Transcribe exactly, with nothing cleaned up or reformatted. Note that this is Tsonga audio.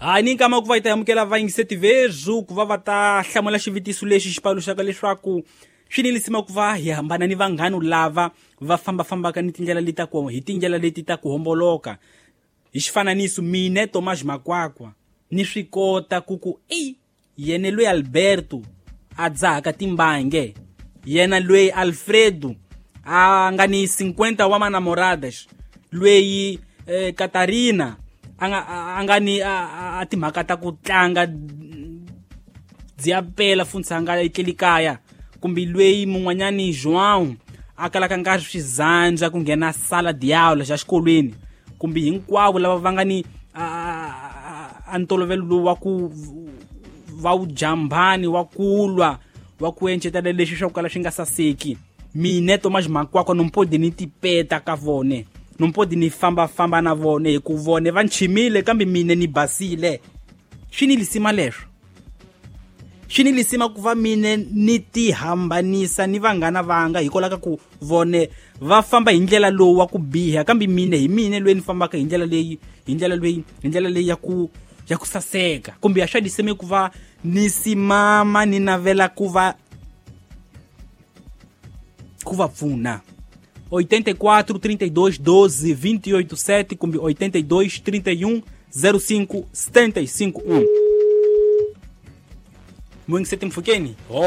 Hayi ni nkama ku va yi ta amukela vayingiseti vezu ku va va ta hlamula xivutiso lexi xi paluxaka leswaku swi ni lisima ku va hi hambana ni vanghana lava va fambafambaka ni tindlela leti ta ku hi tindlela leti ta ku homboloka. Hi xifananiso mine Thomas Makwakwa ni swi kota ku ku ei yena loyi Alberto a dzahaka timbange, yena loyi Alfredo a nga ni cinquenta wa manamoradas, loyi eh, Katarina a nga a nga ni a timhaka ta ku tlanga dziapela funtsi a nga etleli kaya, kumbe loyi mun'wanyani João a kalaka nga swizandza ku nghena sala diablo xa xikolweni, kumbe hinkwavo lava va nga ni a ntolovelo lowu wa ku va wu jambani wa kulwa wa ku encetela leswi swa ku kala swi nga saseki. Mine Thomas Makwakwa nompodi ni tipeta ka vone, nompodi ni fambafamba na vone hi ku vone va nchimile kambe mine ni basile. Swi ni lisima leswo, swi ni lisima ku va mine ni tihambanisa ni vanghana vanga hikwalaho ka ku vone va famba hi ndlela lowu wa ku biha, kambe mine hi mine loyi ni fambaka hi ndlela leyi hi ndlela leyi hi ndlela leyi ya ku ya ku saseka. Kumbe ya swa lisime ku va ni simama ni navela ku va ku va pfuna. oitenta e quatro, trinta e dois, doze, vinte e oito, sete kumbe oitenta e dois, trinta e um, zero cinco, setenta e cinco, um. Mwingiseti mfukeni. Oi.